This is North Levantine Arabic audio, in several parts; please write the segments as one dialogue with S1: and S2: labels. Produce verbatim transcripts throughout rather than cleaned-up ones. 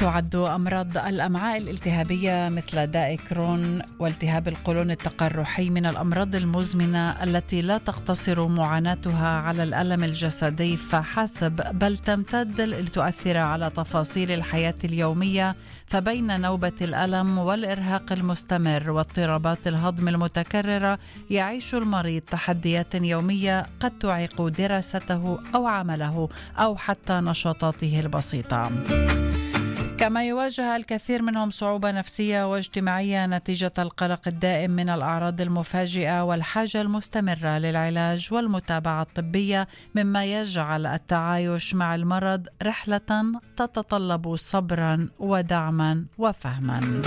S1: تعد أمراض الأمعاء الالتهابية مثل داء كرون والتهاب القولون التقرحي من الأمراض المزمنة التي لا تقتصر معاناتها على الألم الجسدي فحسب، بل تمتد لتؤثر على تفاصيل الحياة اليومية. فبين نوبة الألم والإرهاق المستمر واضطرابات الهضم المتكررة يعيش المريض تحديات يومية قد تعيق دراسته أو عمله أو حتى نشاطاته البسيطة. كما يواجه الكثير منهم صعوبة نفسية واجتماعية نتيجة القلق الدائم من الأعراض المفاجئة والحاجة المستمرة للعلاج والمتابعة الطبية، مما يجعل التعايش مع المرض رحلة تتطلب صبرا ودعما وفهما.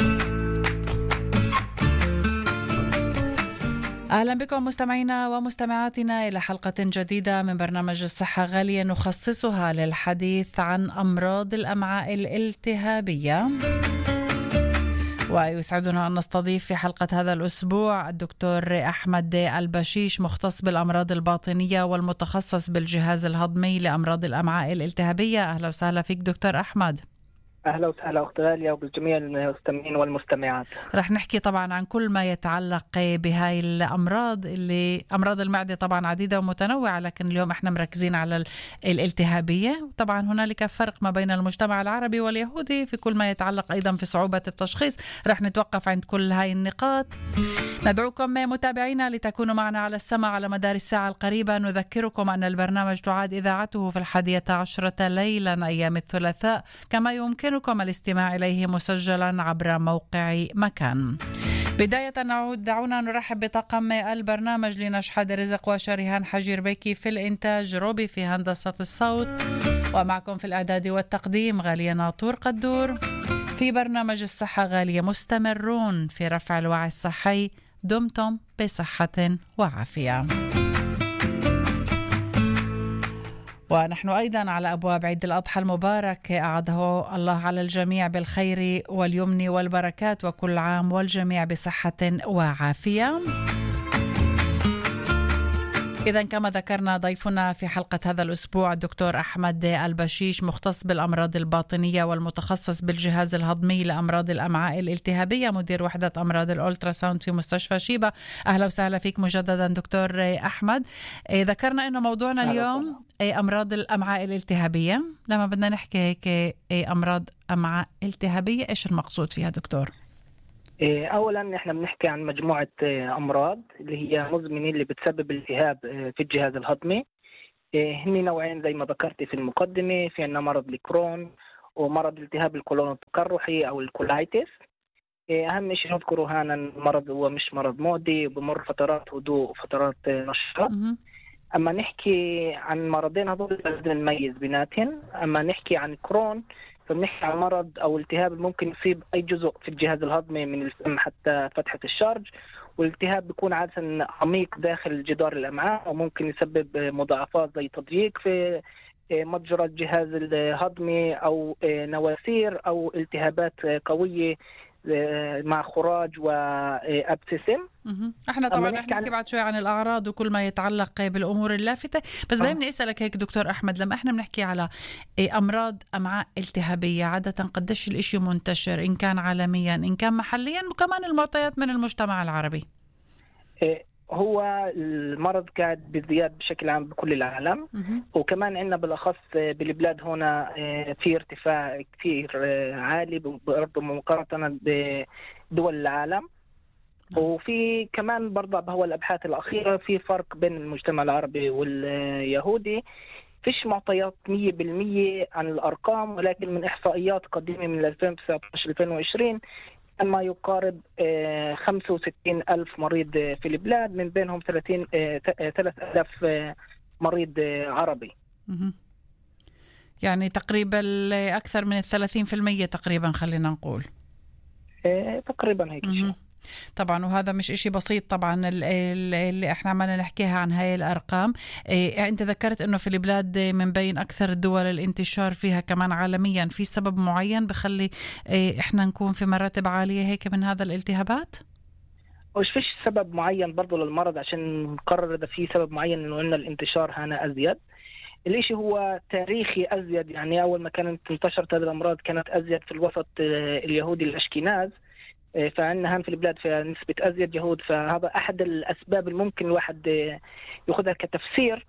S1: أهلا بكم مستمعينا ومستمعاتنا إلى حلقة جديدة من برنامج الصحة غالية نخصصها للحديث عن أمراض الأمعاء الالتهابية. ويسعدنا أن نستضيف في حلقة هذا الأسبوع الدكتور أحمد البشيش، مختص بالأمراض الباطنية والمتخصص بالجهاز الهضمي لأمراض الأمعاء الالتهابية. أهلا وسهلا فيك دكتور أحمد.
S2: أهلا وسهلا أخت غالية وبالجميع المستمعين والمستمعات.
S1: رح نحكي طبعا عن كل ما يتعلق بهاي الأمراض اللي أمراض المعدة طبعا عديدة ومتنوعة، لكن اليوم احنا مركزين على الالتهابية. طبعا هنالك فرق ما بين المجتمع العربي واليهودي في كل ما يتعلق أيضا في صعوبة التشخيص. رح نتوقف عند كل هاي النقاط. ندعوكم متابعينا لتكونوا معنا على السمع على مدار الساعة القريبة. نذكركم أن البرنامج تعاد إذاعته في الحادية عشرة ليلا أيام الثلاثاء، كما يمكن يمكنكم الاستماع إليه مسجلا عبر موقع مكان. بداية نعود دعونا نرحب بطاقم البرنامج: لنشحد رزق وشريهان حجير بيكي في الإنتاج، روبي في هندسة الصوت، ومعكم في الإعداد والتقديم غالية ناطور قدور. في برنامج الصحة غالية مستمرون في رفع الوعي الصحي. دمتم بصحة وعافية. ونحن أيضا على أبواب عيد الأضحى المبارك، أعاده الله على الجميع بالخير واليمن والبركات، وكل عام والجميع بصحة وعافية. إذا كما ذكرنا ضيفنا في حلقة هذا الأسبوع الدكتور أحمد البشيش، مختص بالأمراض الباطنية والمتخصص بالجهاز الهضمي لأمراض الأمعاء الالتهابية، مدير وحدة أمراض الأولتراساوند في مستشفى شيبة. أهلا وسهلا فيك مجددا دكتور أحمد. ذكرنا أنه موضوعنا اليوم أمراض الأمعاء الالتهابية. لما بدنا نحكي هيك أمراض أمعاء التهابية، إيش المقصود فيها دكتور؟
S2: أولا إحنا بنحكي عن مجموعة أمراض اللي هي مزمنة اللي بتسبب التهاب في الجهاز الهضمي. هني نوعين زي ما ذكرت في المقدمة، في عنا مرض الكرون ومرض التهاب القولون التقرحي أو الكولايتس. أهم شيء نذكره هنا المرض هو مش مرض معدي، بمر فترات هدوء وفترات نشاط. أما نحكي عن مرضين هذول لازم نميز بيناتهم. أما نحكي عن كرون فبنحكي عن مرض أو التهاب ممكن يصيب أي جزء في الجهاز الهضمي من الفم حتى فتحة الشرج، والالتهاب بيكون عادة عميق داخل جدار الأمعاء وممكن يسبب مضاعفات زي تضييق في متجرى الجهاز الهضمي أو نواسير أو التهابات قوية مع خراج وابتسم.
S1: احنا طبعا رح نحكي بعد شوي عن الاعراض وكل ما يتعلق بالامور اللافته، بس بدي اسالك هيك دكتور احمد، لما احنا بنحكي على امراض امعاء التهابيه عاده قديش الاشي منتشر، ان كان عالميا ان كان محليا، وكمان المعطيات من المجتمع العربي؟
S2: هو المرض قاعد بزياد بشكل عام بكل العالم، وكمان عندنا بالأخص بالبلاد هنا في ارتفاع كثير عالي برضه مقارنة بدول العالم. وفي كمان برضه بهو الأبحاث الأخيرة في فرق بين المجتمع العربي واليهودي. فيش معطيات مية بالمية عن الأرقام، ولكن من إحصائيات قديمة من ألفين وتسعة عشر ألفين وعشرين ما يقارب خمسة وستين ألف مريض في البلاد، من بينهم ثلاثين ثلاثة آلاف مريض عربي.
S1: يعني تقريبا أكثر من الثلاثين في المية تقريبا، خلينا نقول
S2: تقريبا هيك شيء.
S1: طبعا، وهذا مش إشي بسيط طبعا اللي احنا عمالنا نحكيها عن هاي الأرقام. إيه انت ذكرت انه في البلاد من بين اكثر الدول الانتشار فيها كمان عالميا، في سبب معين بخلي إيه احنا نكون في مراتب عالية هيك من هذا الالتهابات؟
S2: مش فيش سبب معين برضو للمرض عشان نقرر إذا في سبب معين إنه إن الانتشار هنا أزيد. الإشي هو تاريخي أزيد، يعني أول ما كانت انتشرت هذه الأمراض كانت أزيد في الوسط آه، اليهودي الأشكناز. آه، فعندنا هم في البلاد فيها نسبة أزيد يهود، فهذا أحد الأسباب اللي ممكن الواحد آه، يأخذها كتفسير.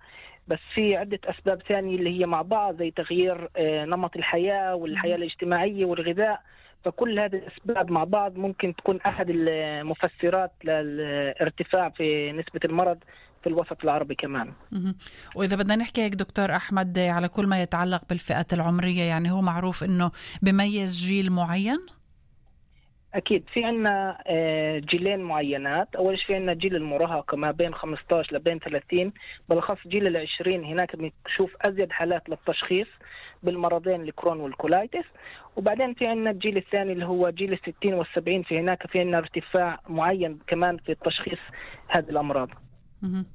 S2: بس في عدة أسباب ثانية اللي هي مع بعض، زي تغيير آه، نمط الحياة والحياة الاجتماعية والغذاء. فكل هذه الأسباب مع بعض ممكن تكون أحد المفسرات للارتفاع في نسبة المرض في الوسط العربي كمان.
S1: مهم. وإذا بدنا نحكي هيك دكتور أحمد على كل ما يتعلق بالفئات العمرية، يعني هو معروف إنه بميز جيل معين؟
S2: أكيد في عنا آه، جيلين معينات. أول شيء في عنا جيل المراهقة ما بين خمسة عشر لبين ثلاثين، بالأخص جيل العشرين هناك بنشوف أزيد حالات للتشخيص بالمرضين الكرون والكولايتس. وبعدين في عنا الجيل الثاني اللي هو جيل الستين والسبعين، في هناك في عنا ارتفاع معين كمان في التشخيص هذه الأمراض.
S1: مهم.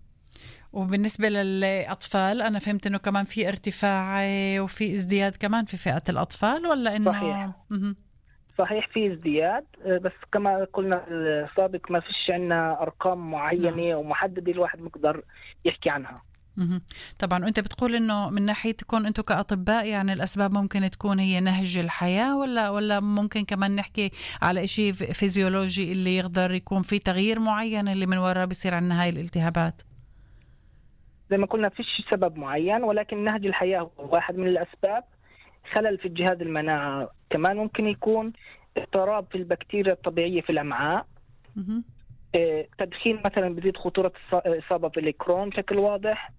S1: وبالنسبة للأطفال أنا فهمت إنه كمان في ارتفاع آه، وفي ازدياد كمان في فئة الأطفال، ولا إنه
S2: صحيح.
S1: مهم.
S2: صحيح في ازدياد، آه، بس كما قلنا السابق ما فيش عنا أرقام معينة ومحددة الواحد مقدر يحكي عنها.
S1: مهم. طبعا وانت بتقول انه من ناحيتكم انتم كأطباء يعني الاسباب ممكن تكون هي نهج الحياة، ولا ولا ممكن كمان نحكي على شيء فيزيولوجي اللي يقدر يكون في تغيير معين اللي من وراء بيصير عندنا هاي الالتهابات؟
S2: زي ما قلنا فيش سبب معين، ولكن نهج الحياة هو واحد من الأسباب. خلل في الجهاز المناعة كمان ممكن يكون، اضطراب في البكتيريا الطبيعية في الأمعاء.
S1: مهم.
S2: آه، تدخين مثلا بيزيد خطورة الص- الإصابة بالكرون بشكل واضح.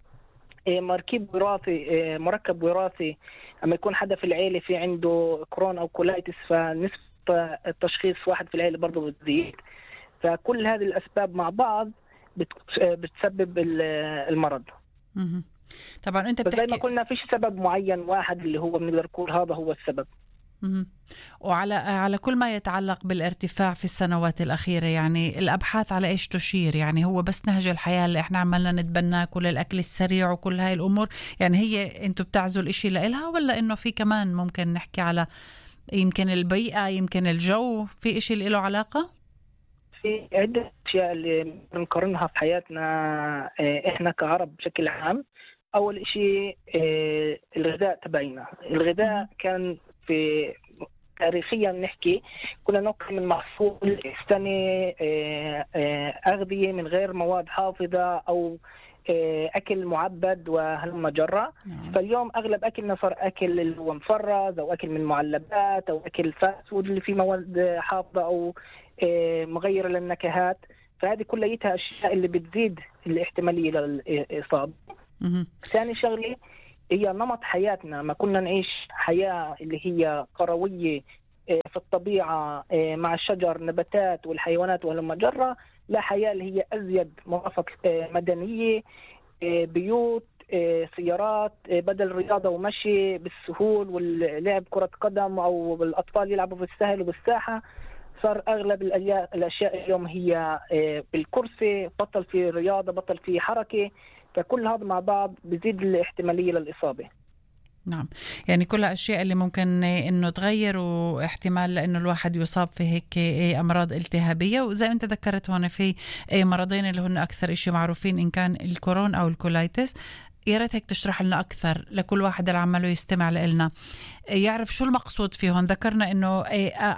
S2: آه، مركب وراثي، آه، مركب وراثي لما يكون حدا في العيلة في عنده كرون أو كولايتس، فنسبة التشخيص واحد في العيلة برضه بتزيد. فكل هذه الأسباب مع بعض بت- آه، بتسبب ال- المرض.
S1: مهم. طبعا انت
S2: بس زي ما
S1: بتحكي
S2: قلنا فيش سبب معين واحد اللي هو بنقدر نقول هذا هو السبب.
S1: مهم. وعلى على كل ما يتعلق بالارتفاع في السنوات الأخيرة، يعني الأبحاث على إيش تشير؟ يعني هو بس نهج الحياة اللي إحنا عمالنا نتبناه، كل الأكل السريع وكل هاي الأمور، يعني هي أنتوا بتعزوا الإشي لإلها، ولا إنه في كمان ممكن نحكي على يمكن البيئة، يمكن الجو، في إشي اللي له علاقة؟
S2: في عدة أشياء اللي بنقارنها في حياتنا آه، إحنا كعرب بشكل عام. أول شيء آه، الغذاء تبعنا. الغذاء كان في تاريخيا نحكي كنا ناكل من محصول السنة، آه، آه، أغذية من غير مواد حافظة أو آه، أكل معبد وهلم جرة.
S1: نعم.
S2: فاليوم أغلب أكلنا صار أكل اللي هو مفرز أو أكل من معلبات أو أكل فاست فود اللي فيه مواد حافظة أو آه، مغيرة للنكهات. فهذه كلها أشياء اللي بتزيد الاحتمالية للإصابة.
S1: مهم.
S2: ثاني شغلة هي نمط حياتنا. ما كنا نعيش حياة اللي هي قروية آه، في الطبيعة آه، مع الشجر نباتات والحيوانات وهلم جرة، لا حياة اللي هي أزيد مرافق آه، مدنية، آه، بيوت، آه، سيارات، آه، بدل رياضة ومشي بالسهول واللعب كرة قدم أو الأطفال يلعبوا في السهل وبالساحة. صار أغلب الأليا- الأشياء اليوم هي آه، بالكرسي، بطل في رياضة، بطل في حركة. فكل هذا مع بعض بيزيد الاحتمالية للإصابة.
S1: نعم، يعني كلها أشياء اللي ممكن إنه تغير، واحتمال لأنه الواحد يصاب في هيك أمراض التهابية. وزي ما أنت ذكرت هون في مرضين اللي هن أكثر إشي معروفين، إن كان الكورون أو الكولايتس. يا ريت هيك تشرح لنا أكثر لكل واحد اللي عمله يستمع لنا يعرف شو المقصود فيهم. ذكرنا إنه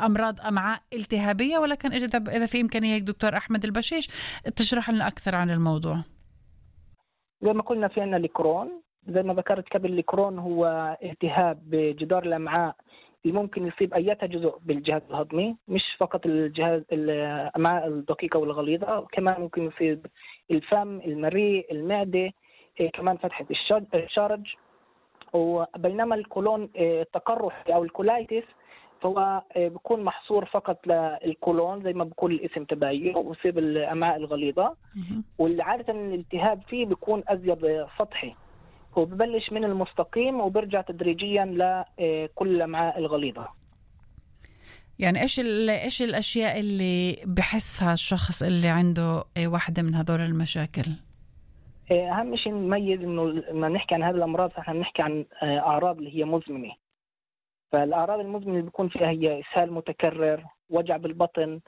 S1: أمراض أمعاء التهابية، ولكن إذا في إمكانية هيك دكتور أحمد البشيش تشرح لنا أكثر عن الموضوع.
S2: زي ما قلنا في عنا الكرون، زي ما ذكرت قبل، الكرون هو التهاب بجدار الأمعاء اللي ممكن يصيب أي جزء بالجهاز الهضمي، مش فقط الجهاز الأمعاء الدقيقة والغليظة، كمان ممكن يصيب الفم، المريء، المعدة، إيه كمان فتحة الشج- الشرج. وبينما الكولون إيه التقرح أو الكولايتس فهو إيه بيكون محصور فقط للكولون زي ما بيقول الاسم تبعيه، ويصيب الأمعاء الغليظة.
S1: مهم.
S2: والعادة الالتهاب فيه بيكون أزيد سطحي، وببلش من المستقيم وبرجع تدريجيا لكل الأمعاء الغليظة.
S1: يعني ايش ال- ايش الاشياء اللي بحسها الشخص اللي عنده واحدة من هذول المشاكل؟
S2: أهم شيء نميز إنه لما نحكي عن هذه الأمراض فإحنا بنحكي عن أعراض اللي هي مزمنة. فالأعراض المزمنة اللي بيكون فيها هي إسهال متكرر، وجع بالبطن،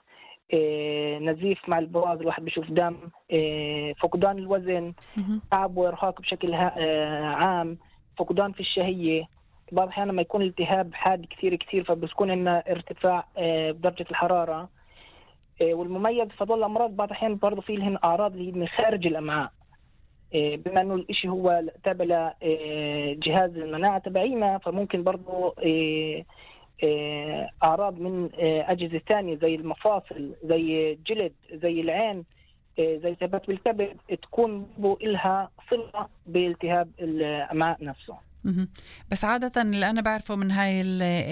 S2: إيه، نزيف مع البراز، الواحد بيشوف دم، إيه، فقدان الوزن،
S1: مهم.
S2: تعب وإرهاق بشكل ها- آه، عام، فقدان في الشهية. بعض الأحيان لما يكون الالتهاب حاد كثير كثير فبتكون عندنا ارتفاع بدرجة الحرارة. والمميز في هذول الأمراض بعض الأحيان برضه في لهن أعراض اللي هي خارج الأمعاء، بما إنه الإشي هو تابع لجهاز المناعة تبعينا، فممكن برضه أعراض من أجهزة ثانية زي المفاصل، زي الجلد، زي العين، زي التهابات بالكبد، تكون لها صلة بالتهاب الأمعاء نفسه.
S1: بس عادة اللي أنا بعرفه من هاي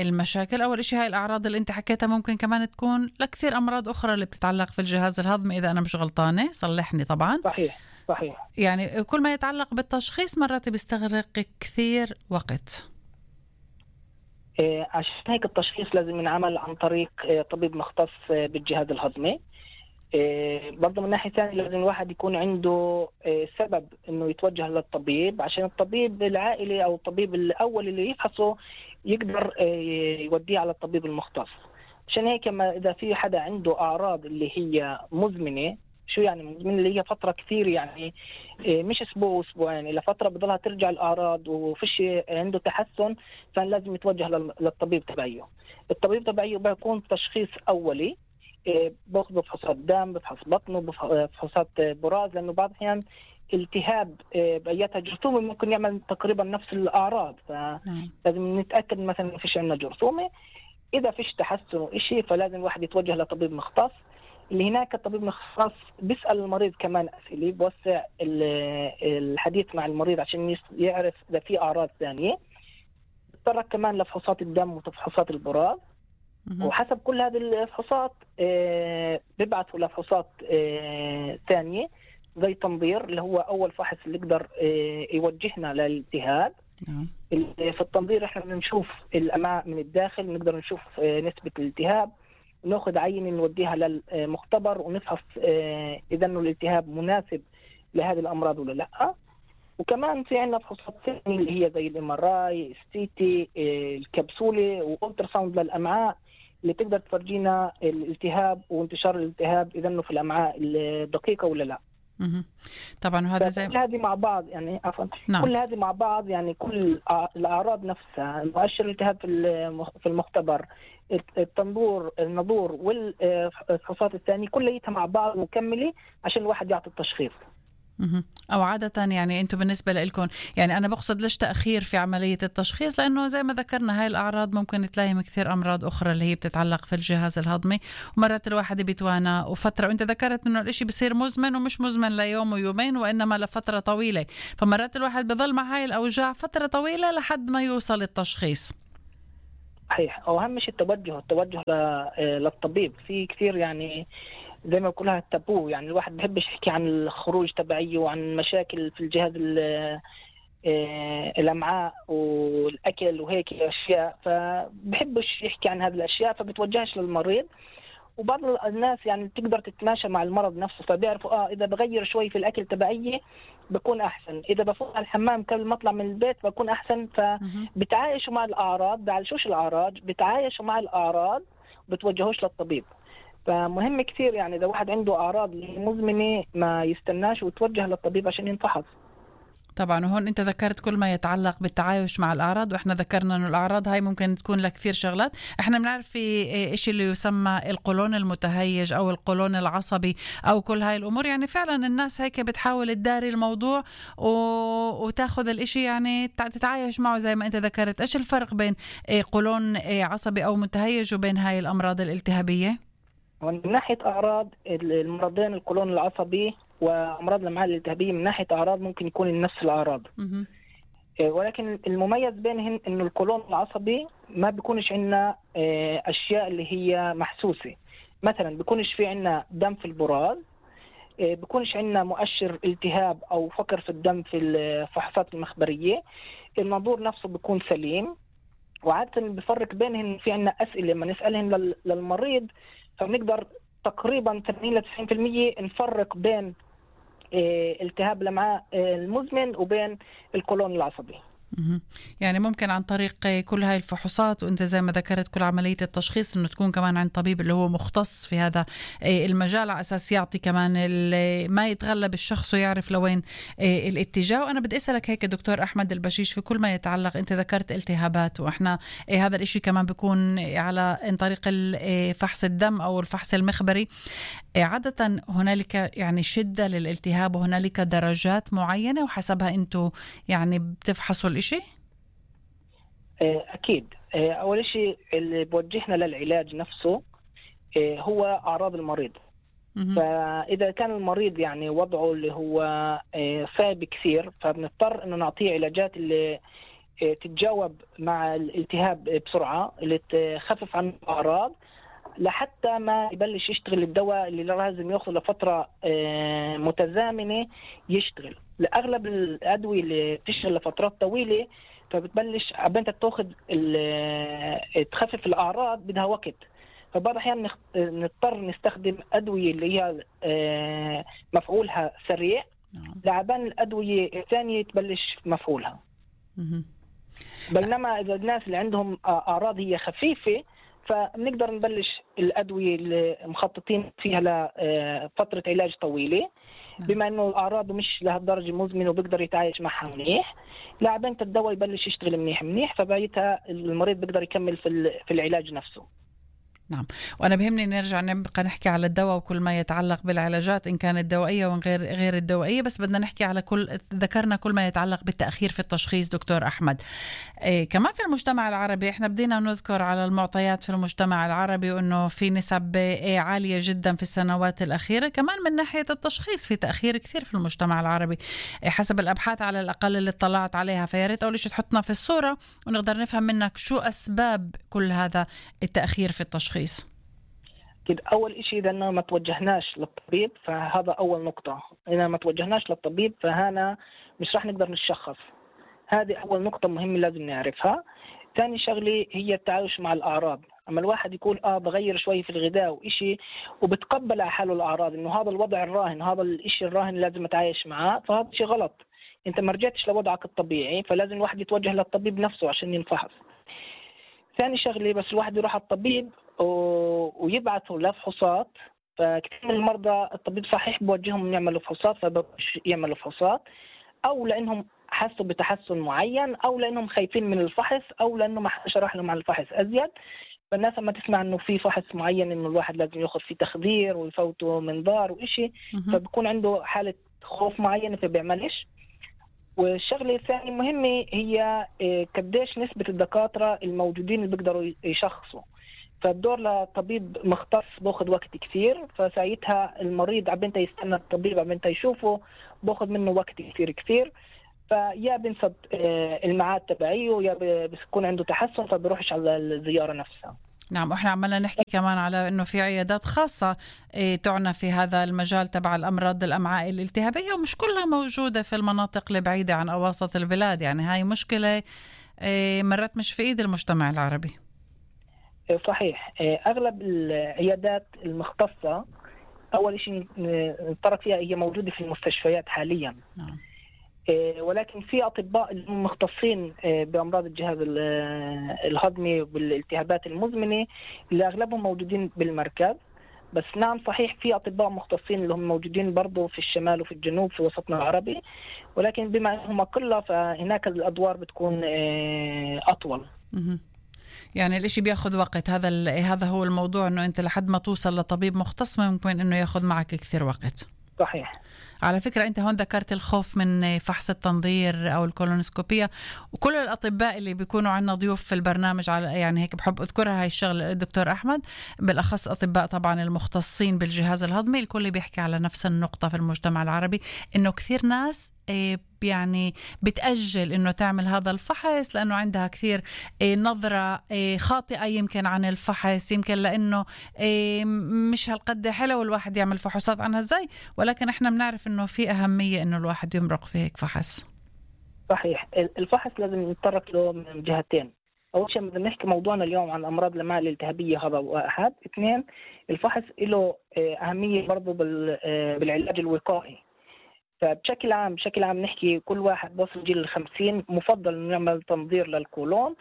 S1: المشاكل، أول إشي هاي الأعراض اللي أنت حكيتها ممكن كمان تكون لكثير أمراض أخرى اللي بتتعلق في الجهاز الهضمي، إذا أنا مش غلطانة صلحني طبعا.
S2: صحيح صحيح.
S1: يعني كل ما يتعلق بالتشخيص مرات بيستغرق كثير وقت.
S2: إيه عشان هيك التشخيص لازم ينعمل عن طريق طبيب مختص بالجهاز الهضمي. إيه برضه من ناحية ثانية لازم الواحد يكون عنده إيه سبب إنه يتوجه للطبيب، عشان الطبيب العائلي أو الطبيب الأول اللي يفحصه يقدر إيه يوديه على الطبيب المختص. عشان هيك ما إذا في حدا عنده أعراض اللي هي مزمنة، شو يعني مزمنة؟ اللي هي فترة كثير يعني إيه مش أسبوع وأسبوعين، إلى فترة بضلها ترجع الأعراض وفيش عنده تحسن، فلازم يتوجه للطبيب تبعيه. الطبيب تبعيه بيكون تشخيص أولي، باخذ بفحوصات دم، بفحص بطنه، بفحوصات براز، لانه بعض الاحيان التهاب باياتها جرثومه ممكن يعمل تقريبا نفس الاعراض، فلازم نتاكد مثلا ما فيش عندنا جرثومه. اذا فيش تحسن وشيء فلازم الواحد يتوجه لطبيب مختص. اللي هناك الطبيب المختص بيسال المريض كمان اسئله، بوسع الحديث مع المريض عشان يعرف اذا في اعراض ثانيه. بتطرق كمان لفحوصات الدم وفحوصات البراز، وحسب كل هذه الفحوصات آه بيبعثوا لفحوصات آه ثانية زي تنظير، اللي هو أول فحص اللي يقدر آه يوجهنا للالتهاب. في التنظير احنا بنشوف الأمعاء من الداخل، نقدر نشوف آه نسبة الالتهاب، ونأخذ عينة نوديها للمختبر ونفحص آه إذا إنه الالتهاب مناسب لهذه الأمراض ولا لأ. وكمان في عندنا فحوصات ثانية اللي هي زي الام ار اي، السي تي، الكبسولة، والترا ساوند للأمعاء، اللي تقدر تفرجينا الالتهاب وانتشار الالتهاب اذا انه في الامعاء الدقيقه ولا لا.
S1: طبعا وهذا زي
S2: كل هذه مع بعض يعني عفوا نعم. كل هذه مع بعض يعني كل الاعراض نفسها، مؤشر الالتهاب في المختبر، التنظور النظور والفحوصات الثانيه كلها مع بعض مكمله عشان الواحد يعطي التشخيص.
S1: أو عادة يعني أنتم بالنسبة لكم، يعني أنا بقصد ليش تأخير في عملية التشخيص؟ لأنه زي ما ذكرنا هاي الأعراض ممكن تلاقي كثير أمراض أخرى اللي هي بتتعلق في الجهاز الهضمي، ومرات الواحد بيتوانى وفترة، وأنت ذكرت إنه الإشي بصير مزمن ومش مزمن ليوم ويومين وإنما لفترة طويلة، فمرات الواحد بضل مع هاي الأوجاع فترة طويلة لحد ما يوصل التشخيص.
S2: صحيح. وأهم شيء التوجه التوجه للطبيب. في كثير يعني زي ما كلها التابو، يعني الواحد بحبش يحكي عن الخروج تبعيه وعن مشاكل في الجهاز الأمعاء والأكل وهيك أشياء، فبحبش يحكي عن هذه الأشياء فبتوجهش للمريض. وبعض الناس يعني تقدر تتماشى مع المرض نفسه، فبيعرفوا آه إذا بغير شوي في الأكل تبعيه بكون أحسن، إذا بفوق على الحمام قبل ما أطلع من البيت بكون أحسن، فبتعايشوا مع الأعراض، بعالجوش الأعراض، بتعايشوا مع الأعراض بتوجهوش للطبيب. فمهم كثير يعني إذا واحد عنده أعراض مزمنة ما يستناش ويتوجه للطبيب عشان ينفحص.
S1: طبعا. وهون انت ذكرت كل ما يتعلق بالتعايش مع الاعراض، واحنا ذكرنا انه الاعراض هاي ممكن تكون لكثير شغلات. احنا بنعرف في شيء اللي يسمى القولون المتهيج او القولون العصبي او كل هاي الامور، يعني فعلا الناس هيك بتحاول تداري الموضوع و... وتاخذ الاشي يعني تتعايش معه زي ما انت ذكرت. ايش الفرق بين قولون عصبي او متهيج وبين هاي الامراض الالتهابية؟
S2: من ناحية أعراض المرضين القولون العصبي وأمراض الأمعاء الالتهابية من ناحية أعراض ممكن يكون نفس الأعراض، ولكن المميز بينهم إنه القولون العصبي ما بيكونش عندنا أشياء اللي هي محسوسة. مثلا بيكونش في عندنا دم في البراز، بيكونش عندنا مؤشر التهاب أو فقر في الدم في الفحوصات المخبرية، الناظور نفسه بيكون سليم. وعادة بفرق بينهم في عندنا أسئلة لما نسألهم للمريض فبنقدر تقريبا ثمانين إلى تسعين بالمئة نفرق بين التهاب الأمعاء المزمن وبين القولون العصبي.
S1: مهم. يعني ممكن عن طريق كل هاي الفحوصات، وانت زي ما ذكرت كل عملية التشخيص، انه تكون كمان عند طبيب اللي هو مختص في هذا المجال، على اساس يعطي كمان ما يتغلب الشخص ويعرف لوين الاتجاه. وانا بدي اسالك هيك دكتور احمد البشيش، في كل ما يتعلق، انت ذكرت التهابات، واحنا هذا الاشي كمان بيكون على عن طريق فحص الدم او الفحص المخبري. عادة هنالك يعني شدة للالتهاب، وهنالك درجات معينة وحسبها انتو يعني بتفحصوا الاشي؟
S2: أكيد. أول شيء اللي بوجهنا للعلاج نفسه هو أعراض المريض. م- فإذا كان المريض يعني وضعه اللي هو صعب كثير، فبنضطر إنه نعطيه علاجات اللي تتجاوب مع الالتهاب بسرعة، اللي تخفف عنه الأعراض لحتى ما يبلش يشتغل الدواء اللي لازم يأخذ لفترة متزامنة يشتغل. لأغلب الأدوية اللي بتشتغل لفترات طويلة، فبتبلش عبين تاخذ تخفف الأعراض بدها وقت، فبعض الأحيان نضطر نستخدم أدوية اللي هي مفعولها سريع لعبان الأدوية الثانية تبلش مفعولها. بينما إذا الناس اللي عندهم أعراض هي خفيفة، فبنقدر نبلش الأدوية اللي مخططين فيها لفترة علاج طويلة، بما إنه الأعراض مش لهالدرجة مزمنة وبيقدر يتعايش معها منيح، لعبين الدواء يبلش يشتغل منيح منيح، فبعدها المريض بيقدر يكمل في في العلاج نفسه.
S1: نعم. وأنا بهمني نرجع نبقى نحكي على الدواء وكل ما يتعلق بالعلاجات، إن كانت دوائية وغير غير الدوائية، بس بدنا نحكي على كل ذكرنا كل ما يتعلق بالتأخير في التشخيص. دكتور أحمد، إيه كمان في المجتمع العربي إحنا بدينا نذكر على المعطيات في المجتمع العربي، وإنه في نسب إيه عالية جدا في السنوات الأخيرة، كمان من ناحية التشخيص في تأخير كثير في المجتمع العربي إيه حسب الأبحاث على الأقل اللي اطلعت عليها. فياريت أول شيء تحطنا في الصورة ونقدر نفهم منك شو أسباب كل هذا التأخير في التشخيص.
S2: كده أول إشي إذا ما توجهناش للطبيب، فهذا أول نقطة. إذا ما توجهناش للطبيب فهنا مش راح نقدر نشخص. هذه أول نقطة مهمة لازم نعرفها. ثاني شغلة هي التعايش مع الأعراض. أما الواحد يقول آه بغير شوي في الغذاء وإشي وبتقبل على حاله الأعراض، إنه هذا الوضع الراهن، هذا الإشي الراهن لازم أتعايش معاه، فهذا شيء غلط. أنت ما رجعتش لوضعك الطبيعي، فلازم الواحد يتوجه للطبيب نفسه عشان ينفحص. ثاني شغلة بس الواحد يروح على الطبيب ويبعثوا لفحوصات، فكثير من المرضى الطبيب صحيح بوجههم يعملوا فحوصات فبقوش يعملوا فحوصات، أو لأنهم حسوا بتحسن معين، أو لأنهم خايفين من الفحص، أو لأنه ما شرح لهم عن الفحص أزيد. فالناس لما تسمع إنه في فحص معين إنه الواحد لازم يأخذ فيه تخدير ويفوته منظار وإشي، فبكون عنده حالة خوف معينة فبيعملش. والشغلة الثانية مهمة هي قديش نسبة الدكاترة الموجودين اللي بيقدروا يشخصوا. فالدور لطبيب مختص باخذ وقت كثير، فساعتها المريض عبنته يستنى الطبيب عبنته يشوفه باخذ منه وقت كثير كثير، فيا بنسد الميعاد تبعيه يا بيكون عنده تحسن فبيروحش على الزيارة نفسها.
S1: نعم. وإحنا عمالنا نحكي كمان على إنه في عيادات خاصة إيه تعنى في هذا المجال تبع الأمراض الأمعاء الالتهابية، ومش كلها موجودة في المناطق البعيدة عن أواسط البلاد. يعني هاي مشكلة إيه مرات مش في إيد المجتمع العربي.
S2: صحيح. أغلب العيادات المختصة أول شيء نتطرق فيها هي موجودة في المستشفيات حاليا. نعم. ولكن في أطباء مختصين بأمراض الجهاز الهضمي والالتهابات المزمنة اللي أغلبهم موجودين بالمركز. بس نعم صحيح في أطباء مختصين اللي هم موجودين برضو في الشمال وفي الجنوب في وسطنا العربي، ولكن بما أنهم قلة فهناك الأدوار بتكون أطول. م-
S1: يعني الاشي بياخد وقت. هذا هذا هو الموضوع، انه انت لحد ما توصل لطبيب مختص ممكن انه ياخد معك كثير وقت.
S2: صحيح.
S1: على فكرة انت هون ذكرت الخوف من فحص التنظير او الكولونوسكوبية، وكل الاطباء اللي بيكونوا عندنا ضيوف في البرنامج على يعني هيك بحب اذكرها هاي الشغله. الدكتور احمد بالاخص اطباء طبعا المختصين بالجهاز الهضمي، الكل بيحكي على نفس النقطة في المجتمع العربي، انه كثير ناس يعني بتأجل إنه تعمل هذا الفحص لأنه عندها كثير نظرة خاطئة يمكن عن الفحص، يمكن لأنه مش هالقد حلو الواحد يعمل فحوصات عنها زي، ولكن إحنا بنعرف إنه في أهمية إنه الواحد يمرق في هيك فحص.
S2: صحيح. الفحص لازم نتطرق له من جهتين. أول شيء بدنا نحكي موضوعنا اليوم عن أمراض الأمعاء الالتهابية، هذا واحد. اثنين، الفحص له أهمية برضو بالعلاج الوقائي. فبشكل عام بشكل عام نحكي كل واحد وصل جيل الخمسين مفضل إنه يعمل تنظير للقولون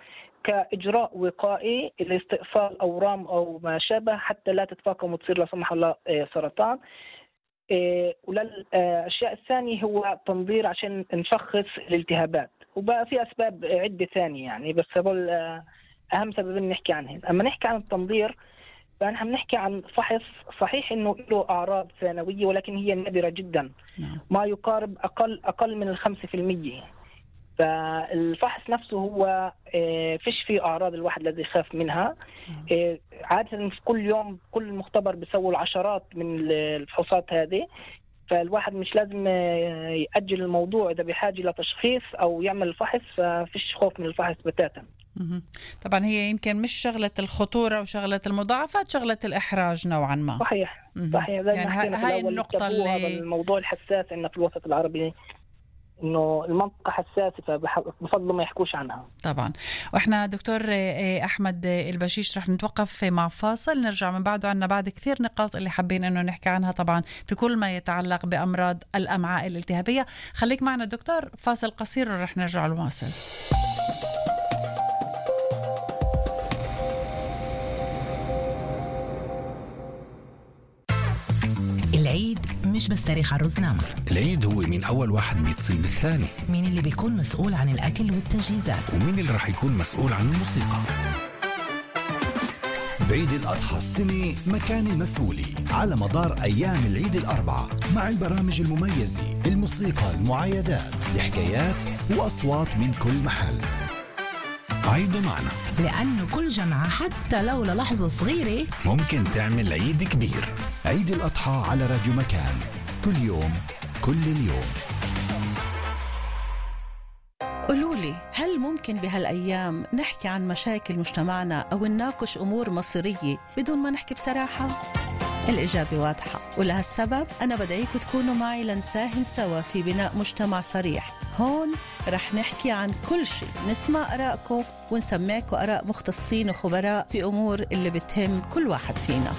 S2: كإجراء وقائي لاستئصال أورام أو ما شابه حتى لا تتفاقم وتصير لا سمح الله سرطان. وللأشياء الثانية هو تنظير عشان نشخص الالتهابات، وبقى في أسباب عدة ثانية يعني، بس هذول أهم سببين نحكي عنهم. أما نحكي عن التنظير فنحن بنحكي عن فحص صحيح إنه له أعراض ثانوية ولكن هي نادرة جدا، ما يقارب أقل أقل من الخمسة في المية. فالفحص نفسه هو فيش فيه أعراض الواحد الذي يخاف منها. عادة في كل يوم كل مختبر بيسوي العشرات من الفحوصات هذه، فالواحد مش لازم يأجل الموضوع إذا بحاجة لتشخيص أو يعمل الفحص، ففيش خوف من الفحص بتاتا.
S1: طبعا هي يمكن مش شغلة الخطورة وشغلة المضاعفات، شغلة الإحراج نوعا ما.
S2: صحيح صحيح زي
S1: يعني
S2: ما حكينا في
S1: هاي
S2: الأول،
S1: النقطة اللي
S2: هذا الموضوع الحساس إنه في الوسط العربي إنه المنطقة حساسة فبفضل ما يحكوش عنها.
S1: طبعا. وإحنا دكتور أحمد البشيش رح نتوقف مع فاصل، نرجع من بعده. عنا بعد كثير نقاط اللي حابين إنه نحكي عنها طبعا في كل ما يتعلق بأمراض الأمعاء الالتهابية. خليك معنا دكتور، فاصل قصير ورح نرجع نواصل.
S3: العيد مش بس تاريخ عروس نعمة،
S4: العيد هو مين أول واحد بيتصل بالثاني،
S3: مين اللي بيكون مسؤول عن الأكل والتجهيزات،
S4: ومين اللي رح يكون مسؤول عن الموسيقى.
S5: بعيد الأضحى السنة مكان المسؤولي على مدار أيام العيد الأربعة مع البرامج المميزة، الموسيقى، المعايدات، الحكايات وأصوات من كل محل.
S4: عيدوا معنا،
S3: لأنه كل جمعة حتى لو للحظة صغيرة
S4: ممكن تعمل عيد كبير.
S5: عيد الأضحى على راديو مكان، كل يوم كل اليوم.
S6: قولولي، هل ممكن بهالأيام نحكي عن مشاكل مجتمعنا أو نناقش أمور مصيرية بدون ما نحكي بصراحة؟ الإجابة واضحة، ولهالسبب أنا بدعيكم تكونوا معي لنساهم سوا في بناء مجتمع صريح. هون رح نحكي عن كل شيء، نسمع آراءكم ونسمعكم آراء مختصين وخبراء في أمور اللي بتهم كل واحد فينا.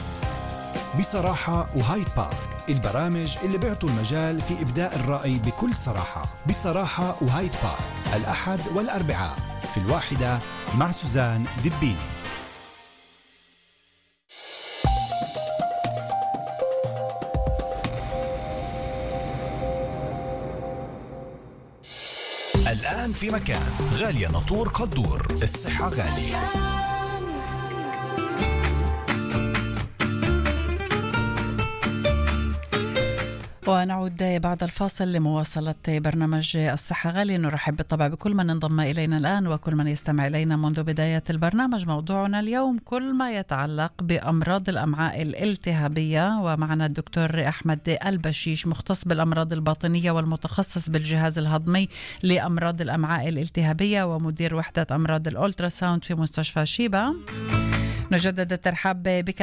S5: بصراحة وهايد بارك، البرامج اللي بيعطوا المجال في إبداء الرأي بكل صراحة. بصراحة وهايد بارك الأحد والأربعاء في الواحدة مع سوزان دبيني. الآن في مكان، غالية ناطور قدور، الصحة غالية.
S1: ونعود بعد الفاصل لمواصلة برنامج الصحة غالية. نرحب بالطبع بكل من انضم إلينا الآن وكل من يستمع إلينا منذ بداية البرنامج. موضوعنا اليوم كل ما يتعلق بأمراض الأمعاء الالتهابية، ومعنا الدكتور أحمد البشيش مختص بالأمراض الباطنية والمتخصص بالجهاز الهضمي لأمراض الأمعاء الالتهابية ومدير وحدة أمراض الأولتراساوند في مستشفى شيبا. نجدد الترحاب بك